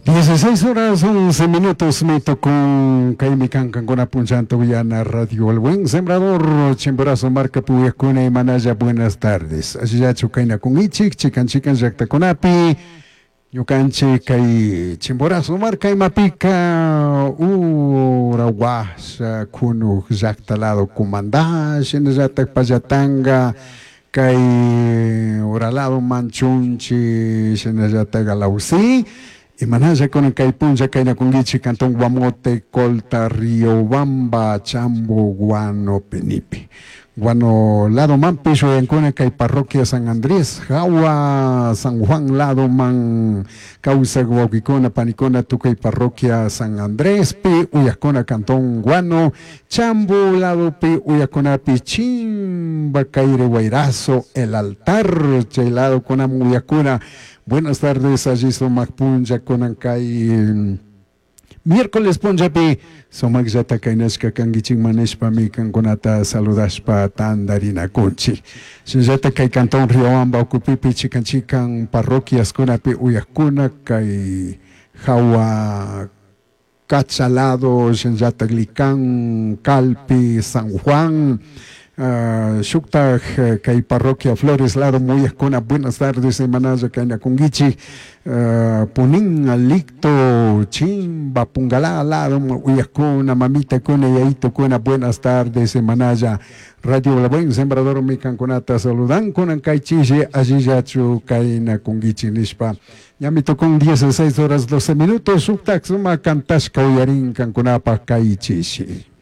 16 horas 11 minutos mi tukun kaymi kan kankuna punchanta uyana Radio El Buen Sembrador Chimborazo marka puyakuna imanalla buenas tardes allillachu kaynakunkichik chikan chikan llaktakunapi ñukanchik kay Chimborazo marka imapika ura washa kunuk llakta lado Cumandá shinallatak Pallatanga kay ura lado Manchunchi shinallatak Alausí. Imanalla kunan kay punlla kaynakunkichik cantón Guamote, Colta, Riobamba, Chambo, Guano, Penipe. Guano lado manpish uyankuna kay parroquia San Andrés, Jawa, San Juan lado man kawsak wawkikuna panikuna tukuy parroquia San Andréspi uyakuna cantón Guano, Chambo ladopi uyakunapi Chimba, Caire, Guairazo, El Altar, chay lado kunaman uyakuna. Buenas tardes, allí sumak punlla kunan kay miércoles punllapi sumakllata kaynashka kankichikman nishpami kankunata saludashpa tandarinakunchik. Shinallata kay cantón Riobamba ukupipi chikan chikan parroquiaskunapi uyakuna kay Jawa Cachalado, shinallata Licán, Calpi, San Juan, shuktak kay parroquia Flores lado muyakuna buenas tardes imanalla kaynakunkichik Punín, Alicto, Chimba, Pungalá lado uyakuna, mamitakuna, yayitukuna buenas tardes imanalla Radio La Buen Sembrador mi kankunata saludan kunan kay chishi allillachu kaynakunkichik nishpa ñami tukun 16 horas 12 minutos shuktak suma kantashka uyarin kankunapak kay chishi.